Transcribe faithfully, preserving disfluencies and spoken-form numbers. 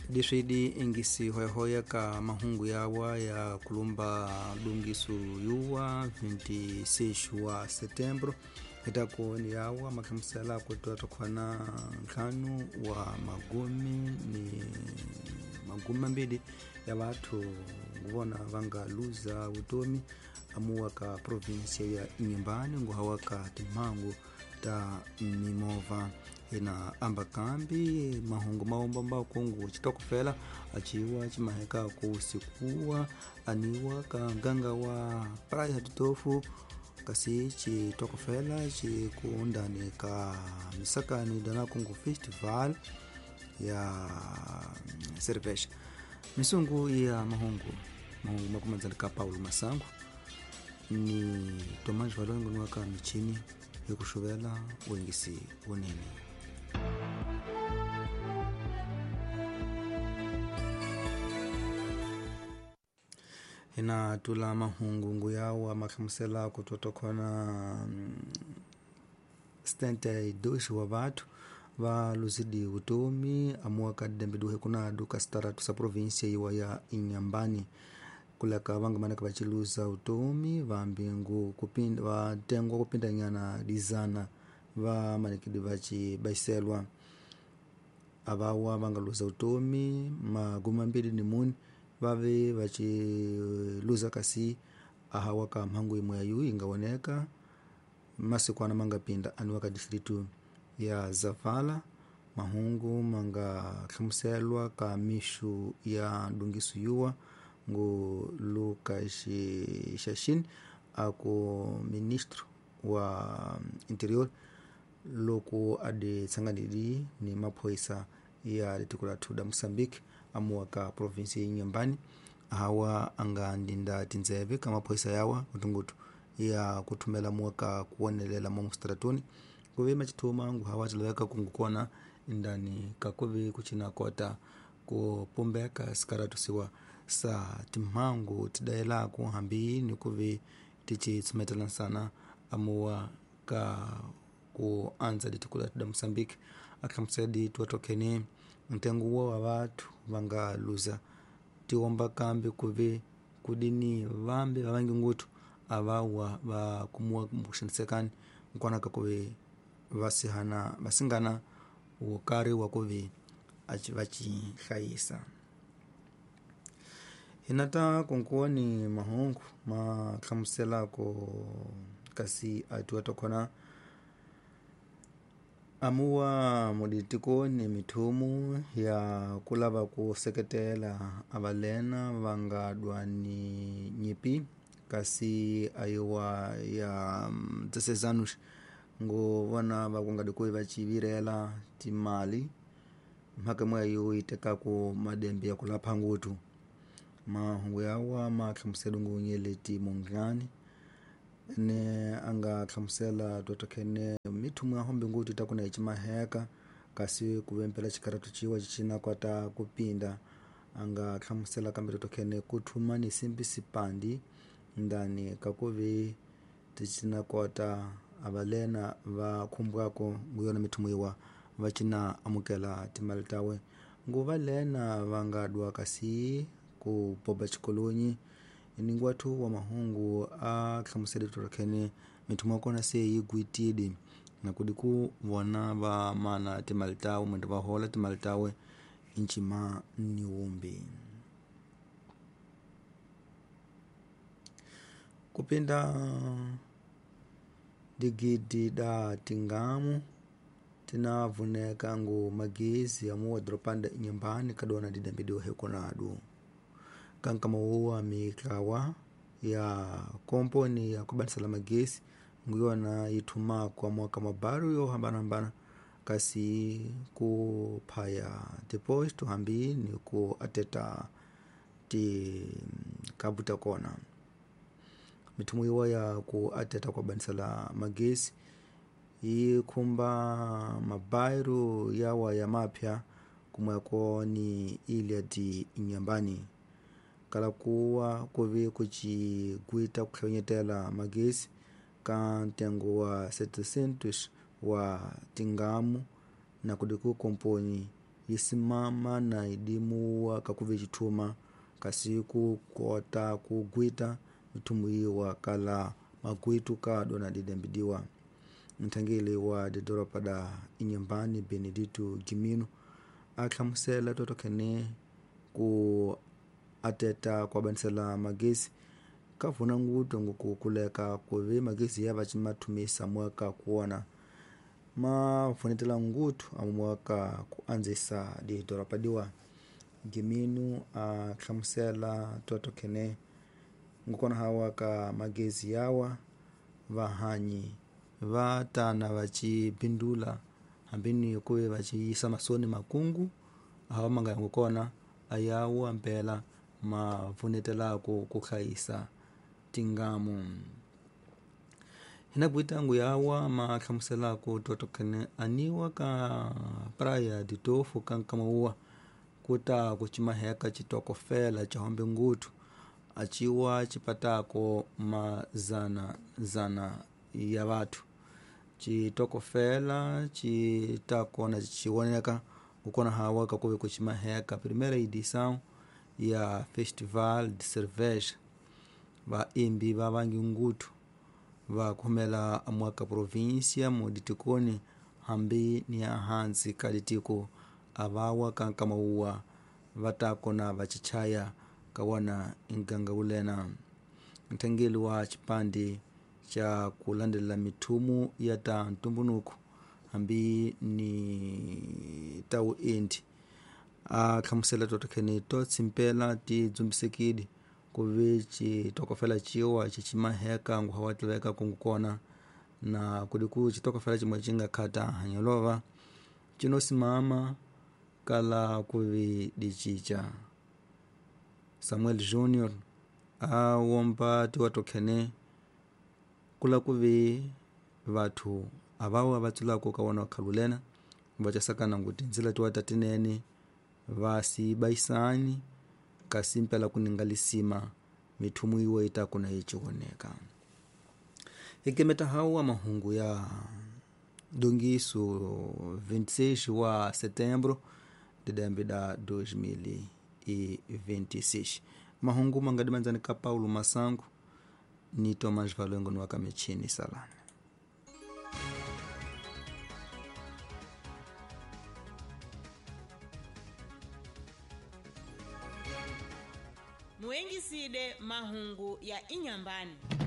Leswi di ingisi hoyahoya ka mahungu yawa ya kulumba dungisu yuwa vinte e seis wa setembro itakoni yawa makhamusela kutwa tokhwana ntlhanu wa magumi ni magumi mambili ya vathu nguvona vanga luza vutomi amuwa ka província ya Inhambane, nguhawa ka timhangu ta mimovha. Ina amba kambi mahungu maombamba kungu chitokofela achiwa chimaheka kusikuwa aniwa ka nganga wa praia tutofu, kasi chitokofela chikundani ka misakani dana kungu festival ya cerveja. Misungu ya mahungu mahungu makumanzani ka Paulo Masango ni Tomás Valongo niwaka michini yokuxuvela wengisi wunene. Hina tula mahungu yawa makhamusela kutotokhona setenta e dois wa vathu va luzidi vutomi amuwa ka dembe duhe kunadu ka sitaratu sa província iwa ya Inhambane, kulaka vangamanaka vaciluza utomi vambingu kupinda vatengwa kupindanyana dizana va manikidi vacibaiselwa. Avawa vangaluza utomi magumi mambili ni muni vave vaciluza kasi ahawa ka mhangu imwe yayu ingawoneka masiku ana mangapinda aniwa ka distrito ya Zavala. Mahungu mangahlamuselwa ka mixo ya dungiso yuwa ngu Lucas Chachine, aku ministro wa interior, loko adi tsanganidi ni maphoyisa ya tiko lathu da Moçambique amuwa ka província ya Inhambane, ahawa anga ndinda tindzeve ka maphoyisa yawa kutungutu ya kuthumela muwa ka kuwonelela mo mustratuni kuve machithuma ngu hawa tilaveka kungukona indani kakuve kuchina kota kupumbeka sikaratu siwa sa timhangu tidayelaku hambi ni kuve tichitsumetela nsana amuwa ka ku andza litiko lathu da Moçambique. Akhamusedi tuwatokene ntengo wo wa vathu vanga luza tiwomba kambi kuve kudini vambi vavangi nguthu avawa va kumuwa kuxanisekani nkonaka kuve vasihana vasingana wukari wa kuve vacihlayisa. Hinata kunkuwa ni mahungu mahlamuselako kasi atuwatokhona amuwa muditikoni mithumu ya kulava ku seketela avalena vangadwa ni nyipi kasi ayiwa ya dezesseis anos ngu vona vakungadi kuve vacivirela timali mhaka imwe yayo yi tekaku madembe ya kulapha nguthu. Mahungu yawa ma hlamusela ngunyeleti munghani ne anga hlamusela totokhene mithumu ya hombe nguthu itakuna yi cimaheka kasi kuvempela xikaratu ciwa cicina kota kupinda. Anga hlamusela kambe totokhene kuthuma ni simbi sipandi ndani kakuve ticina kota avalena va khumbwaku nguyona mithumu yiwa va cina amukela timali tawe nguva lena vangadwa kasi ku popa xikolonyi. Ninguwathu wa mahungu a hlamusela totokhene mithumu ya kona se yi gwitile na kudi ku vona va mana timali tawe mwende va hola timali tawe ncima ni wumbi kupinda digidi da tingamu tinavuneka ngu magezi amuwa doropanda Inhambane kadona didambi duhe kunadu kankamauwa miklawa ya komponi ya kubanisala magezi nguyona yithuma kwa mwaka mabaru yo hambanahambana kasi kuphaya deposto hambi ni ku ateta tikabu ta kona. Mithumu yiwa ya ku ateta kwa banisala magezi yi khumba mabairu yawa ya mapya kumweko ni ilha de Inhambane kala kuwa kuve kucigwita kuhlonyetela magezi ka ntengo wa setecentos wa tingamu na kudiku komponi. yi simama na idimuwa kakuve chithuma kasi ku kota ku gwita mithumu yiwa kala magwitu kado na didembidiwa. Nthangeli wa didoropa da Inhambane Benedito Gimino ahlamusela totokhene ku ateta kuabanisela magezi kavuna nguto ngokukuleka kuve magezi ya vacimathumisa mwaka kuona mavunetela ngutu amwaka kuanzisa didoropa diwa. Gimino ahlamusela totokhene ngukona hawa ka magezi yawa vahanyi va tana vacipindula hambini kuve vaciyisa masoni makungu awa manga ngukona ayawu ampela mavunetelako kuhlayisa tingamu. Hina kuitangu yawa mahlamuselako totokhene aniwa ka praia de Tofo kankamauwa kuta kucimaheka citokofela cahombe ngutu aciwa cipatako mazana zana ya vathu. Citokofela citakona ciwoneka kukona hawa kakuve kucimaheka primeira edição ya Festival de Cerveja. Vaimbi va vangi ngutu va khomela amwaka província muditikoni hambi ni ahansi ka litiko avawa ka nkamauwa va takona va cichaya kawana nganga wulena. Nthangeli wa cipandi ca kulandelela mithumu ya ta ntumbunuku hambi ni ta wuendi a hlamusela totokhene to tsimpela ti dzumbisekile kuve citokofela ciwa cicimaheka nguha wa tiveka kungukona na kuli ku citokofela cimwe cinga khata hanyolova cinosimama kala kuve dicica. Samuel Junior a womba tiwatokhene kula kuve vathu avawa vatsulako ka wana khalulena vacasakana nguti nzila tiwata tinene vasibaisani kasi mpela kuningalisima mithumu iwe itakuna iciwoneka. Ikemeta hawa mahungu ya dongiso vinte e seis wa setembro de dembe da dois mil e vinte e seis. Mahungu mangadimanzani ka Paulo Masango ni Tomás Valengo no akamechini salame. Muengiside mahungu ya Inhambane.